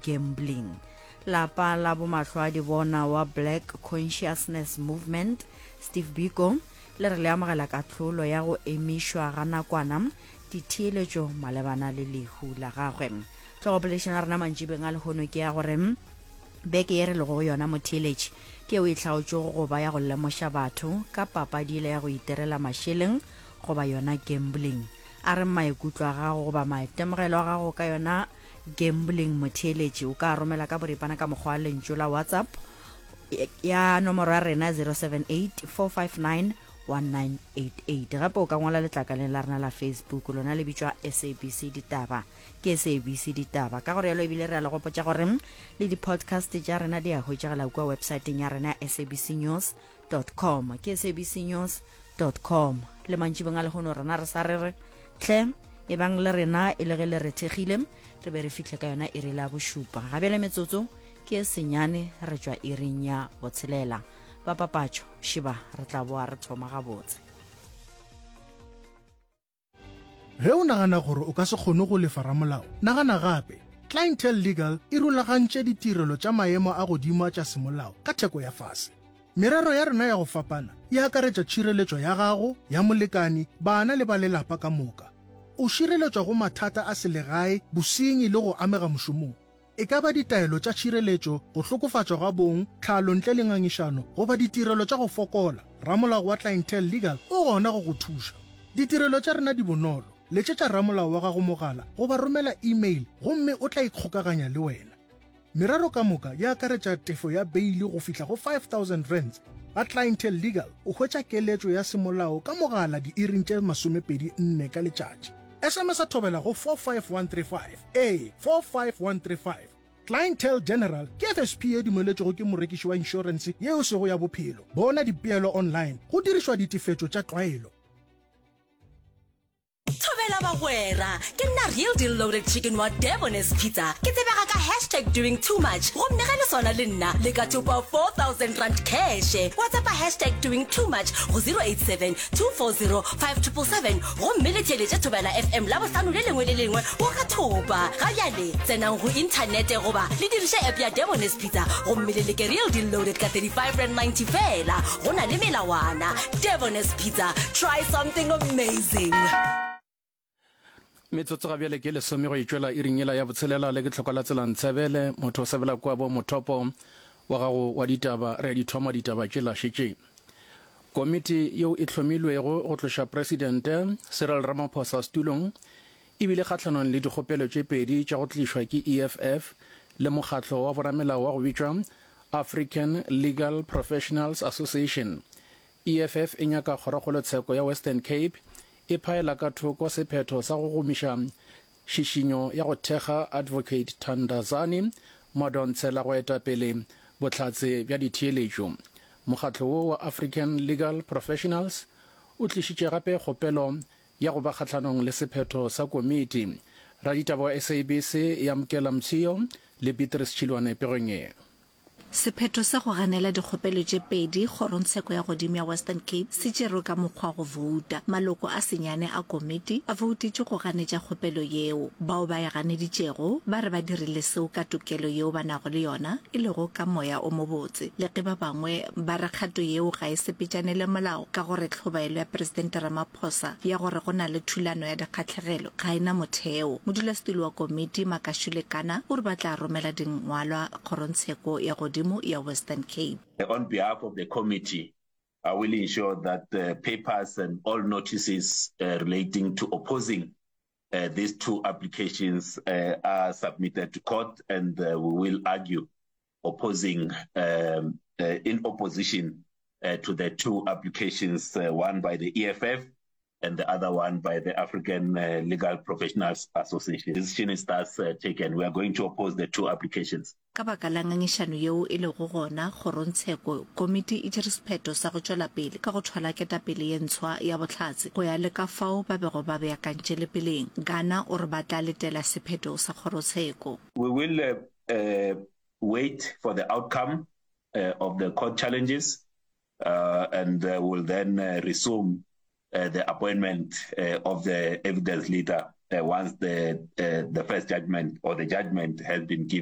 gambling. Lapa la bomahlwaadibona wa Black Consciousness Movement, Steve Biko, le re le amogela kahlolo ya go emišwa ga nakwana ditheeletšo malebana le lehu la gagwe. Tlhogopoledišano ya rena mantšibeng a lehono ke ya gore beke ye re lego go yona motheeletši ke yeo e hlaotšwego go ba ya go lemoša batho ka papadi yela ya go iterela mašeleng goba yona gambling. A re maikutlo a gago goba maitemogelo a gago ka yona gambling motheeletši o ka romela ka boripana ka mokgwa wa lentšu la WhatsApp ya nomoro ya rena 078 459 1988. Gape o ka ngwala letlakaleng la rena la Facebook, lona le bitšwa SABC Ditaba. Ke SABC Ditaba. Ka go rialo ebile re a le gopotša gore le di-podcast tša rena di a hwetšagala kua websaeteng ya rena ya sabcnews com. Ke sabcnews com. Le mantšibong a lehono rena re sa re re hle ebang le rena e le ge le re thekgile re be re fihle ka yona iri la bošupa. Ga bjale metsotso ke e senyane re tšwa iring ya botshelela. Ba papatšo šiba re tla boa re thoma gabotse. Ge o nagana gore o ka se kgone go lefa ramolao, nagana gape. Clientele Legal e rulagantše ditirelo tša maemo a godimo tša semolao ka theko ya fase. Merero ya rena ya go fapana e akaretša tšhireletšo ya gago, ya molekani, bana le ba lelapa ka moka. O šireletšwa go mathata a selegae, bosenyi le go amega mošomong. E ka ba ditaelo tša tšhireletšo, go hlokofatšwa ga bong, tlhalo ntle le ngangišano, goba ditirelo tša go fokola, ramolao wa Clientele Legal o gona go go thuša. Ditirelo tša rena di bonolo, letšetša ramolao wa gago mogala goba romela email gomme o tla ikgokaganya le wena. Merero ka moka e akaretša tefo ya beili go fihla go R5000. Ga Clientele Legal o hwetša keletšo ya semolao ka mogala diiring tše 24 ka letšatši. SMS-a thobela go 45135. Ee, 45135. Clientele General ke FSP ye dumeletšwego ke morekiši wa inšorense ye e sego ya bophelo. Bona dipeelo online go dirišwa ditefetšo tša tlwaelo. Thobela bagwera, ke nna Real Deal Loaded Chicken wa Debonair's Pizza. Ke tsebega ka hashtag doing too much gomme ge le swana le nna le ka thopa R4000 cash. WhatsAppa hashtag doing too much go 087 240 5777 gomme le theeletše Thobela FM Labohlano le lengwe le lengwe go ka thopa. Ga bjale tsenang go inthanete goba le diriše app ya Debonair's Pizza gomme le leke Real Deal Loaded ka R35.90 feela. Go na le melawana. Debonair's Pizza, try something amazing. Metsotso ga bjale ke lesome go itšwela iring yela ya botshelela le ke tlhoko la tsela Ntshebele motho o sebela kua bo mothopo wa gago wa ditaba re a di thoma ditaba tšela šetše Komiti yeo e hlomilwego go tloša Presidente Cyril Ramaphosa setulong e bile kgahlanong le dikgopelo tše pedi tša go tlišwa ke EFF le mokgatlo wa boramelao wa go bitšwa African Legal Professionals Association. EFF e nyaka Kgorokgolotsheko ya Western Cape e phaela ka thoko sephetho sa go gomiša Tšhišinyo ya go thekga Advocate Thandazani Madonsela go eta pele bohlatse bja ditheeletšo. Mokgatlo wo wa African Legal Professionals o tlišitše gape kgopelo ya go ba kgahlanong le sephetho sa komiti. Raditaba wa SABC Yamkela Mthiyo le Beatrice Tšhilwane pegong ye. Sephetho sa go ganela dikgopelo tše pedi Kgorongtsheko ya Godimo ya Western Cape se tšerwe ka mokgwa wa go vouta. Maloko a senyane a komiti a voutetše go ganetša kgopelo yeo. Bao ba e ganeditšego ba re ba dirile seo ka tokelo yeo ba nago le yona, e lego ka moya o mobotse. Le ge ba bangwe ba re kgato yeo ga e sepetšane le molao ka gore tlhobaelo ya Presidente Ramaphosa ya gore go na le thulano ya dikgahlegelo ga e na motheo. Modulasetulo wa komiti, Makashule Kana, o re ba tla romela dingwalwa Kgorongtsheko ya Godimo ya Western Cape. On behalf of the committee, I will ensure that the papers and all notices relating to opposing these two applications are submitted to court and we will argue opposing in opposition to the two applications, one by the EFF and the other one by the African Legal Professionals Association. Decision is thus taken. We are going to oppose the two applications. Ka baka la ngangišano yeo e lego gona kgorongtsheko, komiti e tšere sephetho sa go tšwela pele ka go thwala ketapele ye ntshwa ya bohlatse go ya le ka fao ba bego ba beakantše le peleng. Ghana o re ba tla letela sephetho sa kgorotsheko. We will wait for the outcome of the court challenges and will then resume the appointment of the evidence leader once the the first judgment or the judgment has been given.